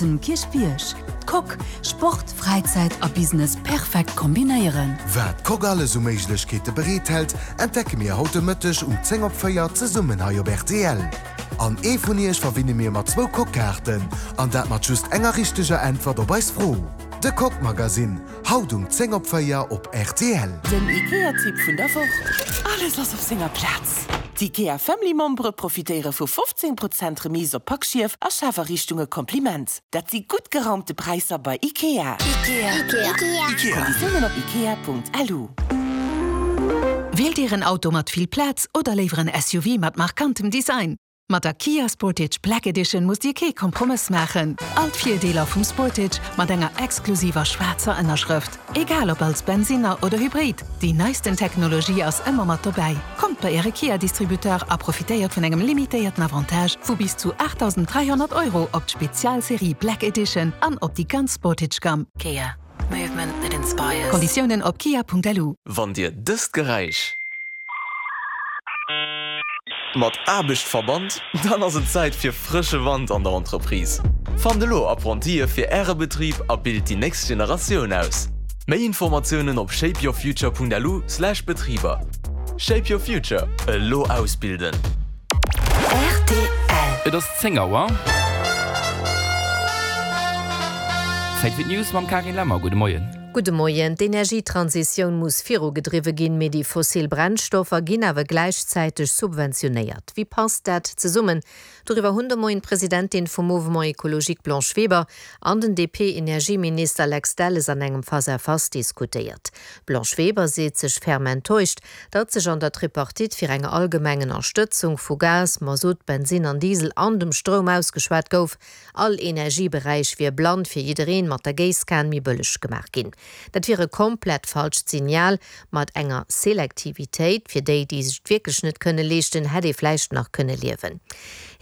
um Kierchbierg. D'Coque, Sport, Fräizäit a Business perfekt kombinéieren. Wat d'Coque alles u Méiglechkeete bereet hält, entdecke mir haut de Mëtteg um 10 op 4 zesummen hei op rtl. An ee vun iech verwinne mir mat zwou Coque-Kaarten, an dat mat just enger richteger Äntwert op eis Fro. De Coque Magazine, haut um 10 op 4 op rtl. Den IKEA-Tipp vun der Woch, Alles ass op senger Plaz! D'IKEA Family Membere profitéiere vu 15 Prozent Remise op Packschief a Schafariichtunge Kompliment! Dat si gutt geraumte Präisser bei IKEA! Konditiounen op ikea.lu. Wielt Dir en Auto mat vill Plaz oder léiwer en SUV mat markantem Design? Mat der Kia Sportage Black Edition musst Dir kee Kompromëss maachen. All d'Virdeeler vum Sportage mat enger exklusiver schwaarzer Ënnerschrëft. Egal ob als Bensinner oder Hybrid, déi neisten Technologie ass ëmmer mat dobäi. Kommt bei Äre Kia-Distributeur a profitéiert vun engem limitéierten Avantage vu bis zu 8.300 Euro op d'Spezialserie Black Edition an op déi ganz Sportage-Gamm. Kia. Movement that inspires. Konditiounen op kia.lu. Wann Dir dëst Geräisch mat Aarbecht verbannt, dann ass et Zäit fir frësche Wand an der Entreprise. Fannt elo Apprentië fir Äre Betrib a bilt déi nächst Generatioun aus. Méi Informatiounen op shapeyourfuture.lu/betriber. Shape your future, elo ausbilden! Rtl. Et ass 10 Auer. Zäit fir d'News mam Karin Lemmer. Gudde Moien. Gudde Moien. D'Energietransitioun muss virugedriwwe ginn, mee déi fossil Brennstoffer ginn awer gläichzäiteg subventionéiert. Wéi passt dat zesummen? Doriwwer hunn de Moien d'Presidentin vum Mouvement Ecologique Blanche Weber an den DP-Energieminister Lex Delles an engem Face-à-face diskutéiert. D'Blanche Weber seet sech ferm enttäuscht, datt sech an der Tripartite fir eng allgemeng Ënnerstëtzung vu Gas, Masutt, Bensinn an Diesel an dem Stroum ausgeschwat gouf. All Energieberäich wier blann fir jiddereen mat der Géisskan méi bëlleg gemaach ginn. Dat wier e komplett falscht Signal. Mat enger Selektivitéit fir déi, déi sech et wierklech net kënne leeschten, hätt ee vläicht nach kënne liewen.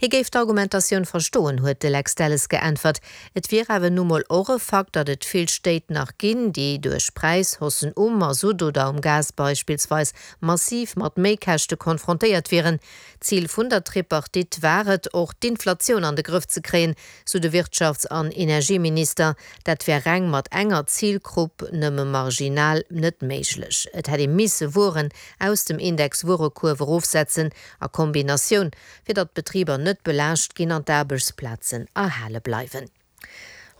Hie géif d'Argumentatioun verstoen, huet de Lex Delles geäntwert. Et wier awer nu mol och e Fakt, datt et vill Stéit nach ginn, déi duerch Präishaussen um Masutt oder um Gas beispillsweis massiv mat Méikäschte konfrontéiert wieren. Zil vun der Tripartite war et och, d'Inflatioun an de Grëff ze kréien, sou de Wirtschafts an Energieminister. Dat wär reng mat enger Zilgrupp nëmme marginal net méiglech. Et hätt ee misse Wueren aus dem Index Wuerekuerf erofsetzen a Kombinatioun fir datt d'Betriber net belaascht ginn an d'Aarbechtsplazen erhale bleiwen.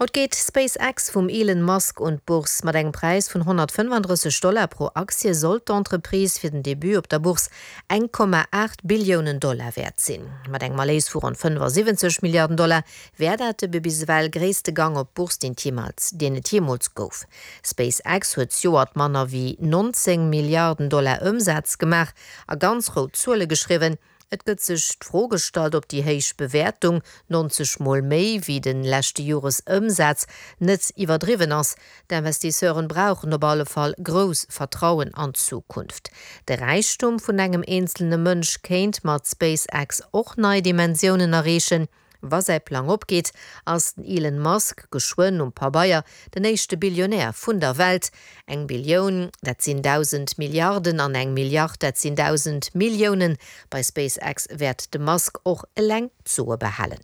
Haut geet SpaceX vum Elon Musk un d'Bourse. Mat engem Präis vun 135 Dollar pro Aktie soll d'Entreprise fir den Debut op der Bourse 1,8 Billiounen Dollar wäert sinn. Mat engem Erléis vu ronn 75 Milliarden Dollar wär dat de bis ewell gréisste Gang op d'Bourse, deen et jeemools gouf. SpaceX huet zejoert manner wéi 19 Milliarden Dollar Ëmsaz gemaach a ganz rout Zuele geschriwwen. Et gëtt sech d'Fro gestallt, ob déi héich Bewäertung, 90 mol méi wéi de leschte Joresëmsaz, net iwwerdriwwen ass. D'Investisseuren brauchen op alle Fall grouss Vertrauen an d'Zukunft. De Räichtum vun engem eenzelne Mënsch kéint mat SpaceX och nei Dimensiounen erreechen. Wa säi Plang opgeet, ass den Elon Musk geschwënn um Pabeier den éischte Billionär vun der Welt. Eng Billioun, dat sinn 1.000 Milliarden, an eng Milliard, dat sinn 1.000 Milliounen. Bei SpaceX wäert de Musk och eleng d'Soe behalen.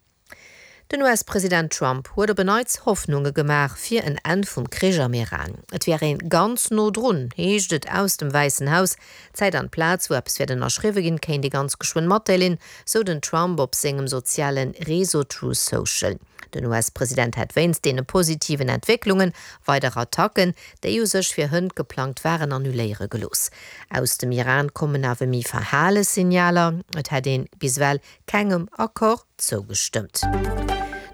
Den US-President Trump huet op en Neits Hoffnunge gemaach fir en Enn vum Krich am Iran. Et wär ee ganz no drun, heescht et aus dem Wäissen Haus. D'Zäit an d'Plaz, wou eppes wäert ënnerschriwwe ginn, kéint ee ganz geschwënn matdeelen, sou den Trump op sengem soziale Réseau Truth Social. Den US-President hätt wéinst deene positiven Entwécklunge weider Attacken, déi u sech fir hënt geplangt waren, annuléiere gelooss. Aus dem Iran kommen awer méi verhale Signaler, et hätt een bis ewell kengem Accord zougestëmmt.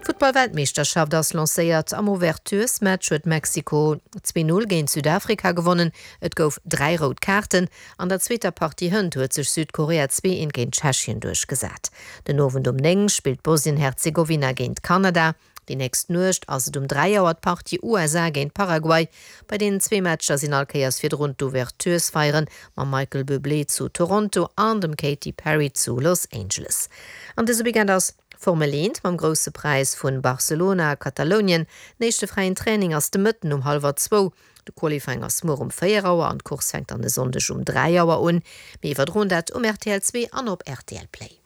D'Futtball-Weltmeeschterschaft ass lancéiert. Am Ouverturesmatch huet Mexiko 2, 0 géint Südafrika gewonnen. Et gouf 3 rout Kaarten. An der zweeter Partie hënt huet sech Südkorea 2, 1 géint Tschechien duerchgesat. Den Owend um 9 spillt Bosnien-Herzegowina géint Kanada. Déi nächst Nuecht ass et um 3 Auer d'Partie USA géint Paraguay. Bei deenen zwee Matcher sinn all Kéiers virdrun d'Ouverturesfeieren mam Michael Bublé zu Toronto an dem Katy Perry zu Los Angeles. An dëse Weekend ass Formel 1 mam Grousse Präis vun Barcelona a Katalounien. Den éischte fräien Training ass de Mëtten um hallwer zwou. De Qualifying ass muer um 4 Auer an d'Course fänkt dann e Sonndeg um 3 Auer un. Mir iwwerdroen dat um rtl 2 an op rtl Play.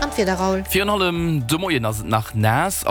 An d'Wieder, Raoul? Virun allem de Moien ass et nach naass an.